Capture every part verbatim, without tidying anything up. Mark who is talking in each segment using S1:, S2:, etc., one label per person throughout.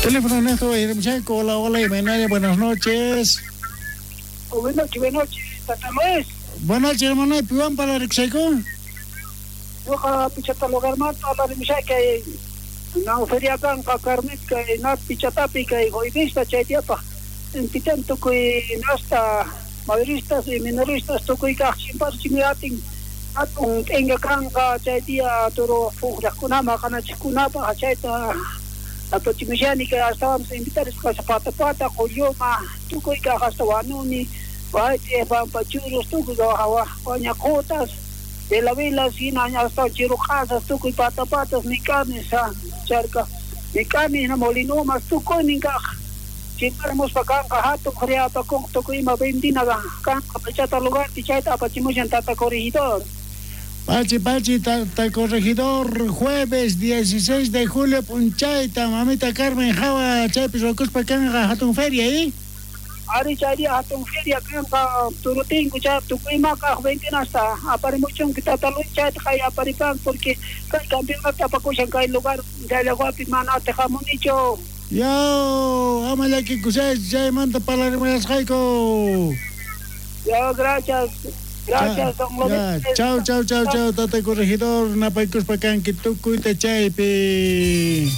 S1: Teléfono neto, hola, hola, y buenas noches.
S2: Buenas noches, buenas noches, Tata Luis.
S1: Buenas noches, hermano, ¿piwan para Rixaico?
S2: Yoja, pichata lugar mata, la rimshaka, na feria kanka, carmitka, na pichatapi, kay joivista, chaytiapa, en pitan tukuy nasta, mayoristas y minoristas, tukuy kachimpas, chimiatin, atun tenga kanka, chaytia, toro, fujakunama, kanachikunapa, chayta. Apachimishani que hasta vamos a invitar a pata pata, coyoma, tukuy hasta wanuni, vaite, pampachuros, tukuy guañacotas, vela vela, sina, hasta chirocasas, tukuy pata patas, micanes, charca, micanes, molinomas, tukuy ninkaj, chimparemos pa kanka, hato, criapa, con tukuy ima vendina, kanka, pachata lugar, pichata, apachimushan, tata corregidor.
S1: Pachi, Pachi, tata corregidor, jueves dieciséis de julio, Punchayta, mamita Carmen Java, Chaypis, Rokuspa, Kanja, Hatun Feria, ¿eh?
S2: Ari, Chayria, Hatun Feria, Kanja, Turutingu, Chay, Tukuimaka, Ventinasta, Aparimuchun, Tata Luis, Chay, Jay, Aparipan, porque campeonato Tapacushan, Kay lugar, Yalaguapi, Manate, Jamunicho.
S1: Yo, amalaki, Kusay, Chay, Manta, Palarimayas, Jaico.
S2: Yo, gracias. Gracias, don López.
S1: Chau, chau, chau, chau, tata corregidor, napaykuspa kanki tukuyta chaypi.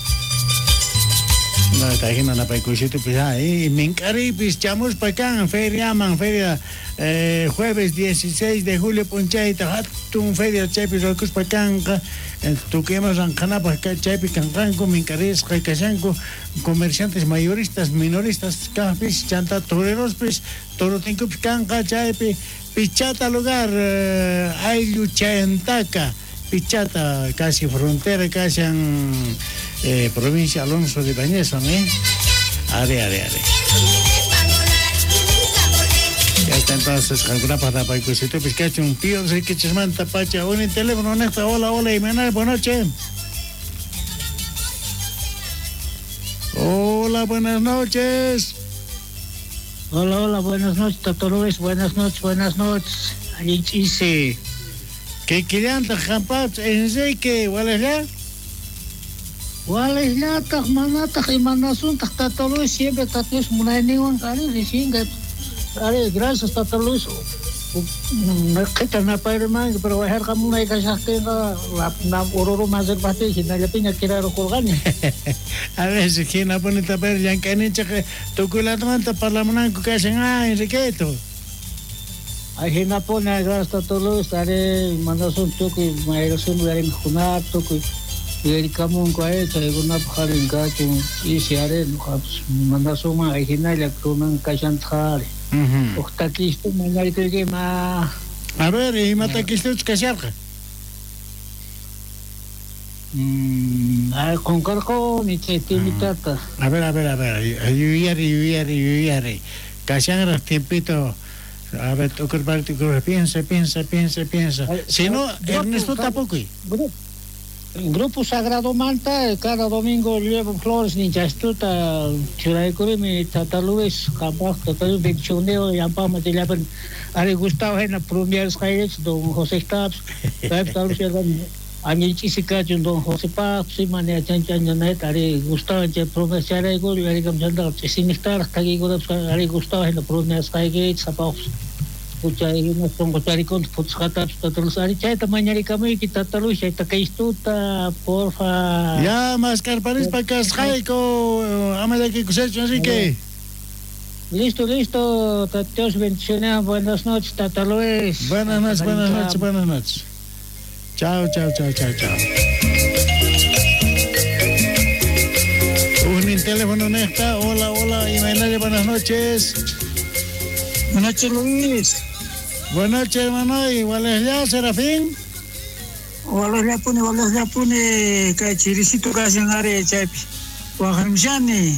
S1: No, tajina napaykusitupis, ah, mink'aripis chamuspa kan feriaman, feria eh, jueves dieciséis de julio punchayta, hatun feria chaypi ruwakuspa kanqa, tukuyma ranqanapaj chaypi kanqanku, mink'arisqa kashanku, comerciantes mayoristas, minoristas kajpis, chanta torerospis, torotinkupis kanqa chaypi. Pichata lugar, eh, Ayllu Chayantaka, Pichata, casi frontera, casi en eh, provincia Alonso de Bañez, ¿eh? Are, are, are. Ya está entonces, alguna para Paikusitupis, cacho, un pío, sé que chismanta, pacha, un teléfono, neta, hola, hola, y buenas noches. Hola, buenas noches.
S3: Hola, hola, buenas noches, Tata Luis, buenas noches, buenas noches. Allinch'isi.
S1: ¿Qué quillanta, jampach, Enrique, walejlla?
S3: Walejllataq, manataq, imanasuntaq, Tata Luis, siempre Tata Luis munayninwan, ari, recién, ari, gracias, Tata Luis. Qhita napayrimanki, pero wajarqa munay kashaqtinqa, ururu masirpaqtin, hinallapiña kirarukurqani.
S1: A veces, hinapuni tapayri llank'ayninchik tukuylatamanta parlamunanku kashan, ah, Enriqueto.
S3: Ay, hinapuni, gracias, Tata Luis, ari, mandasun tukuy, mayrasun uyarimuqkunata, tukuy uyarikamunku, ari, chaykunapaq arin kachun, isi, ari, nuqapas mandasunman, ay, hinalla kunan kashantaq, ari. Uj takistu mañarikuykima.
S1: A ver, ima takistuch kasharqa?
S3: Mm, ay, qunqarquni chay timitata.
S1: A ver, a ver, a ver, yuyari, yuyari, yuyari. Kashanraq tiempito. A ver, tukurpari, tukurpari, piensa, piensa, piensa, piensa. Si no, Ernesto tampoco.
S3: Grupo Sagrado Manta, cada domingo llevo flores, ni chastuta, churaykurimi, Tata Luis, capaz, Tata Luis, benchoneo, yampama, tilapan, ari Gustavo, hena, prumiaris, jairech, don José Taps, Taps, añichisi kachun, don José Paps, imani, chan, chan, chan, ari Gustavo, che, prumiaris, charaykuri, ari kamchanta, chisimiktar, takikunaps, ari Gustavo, hena, prumiaris, jairech, zapaps. Porfa.
S1: Ya, mascarparispa kasqayku, amallakikusaychu, Enrique.
S3: Listo, listo, Dios bendiciones, buenas noches, Tata Luis.
S1: Buenas noches, buenas noches, buenas noches. Chao, chao, chao, chao, chao. Un teléfono nesta, hola, hola, y buenas noches.
S4: Buenas noches, Luis.
S1: Buenas noches, hermano. Igual es ya, Serafín.
S4: Igual es ya, pone, igual es ya, pone, que chirisito casi en área, chaypi. Guajarmshani.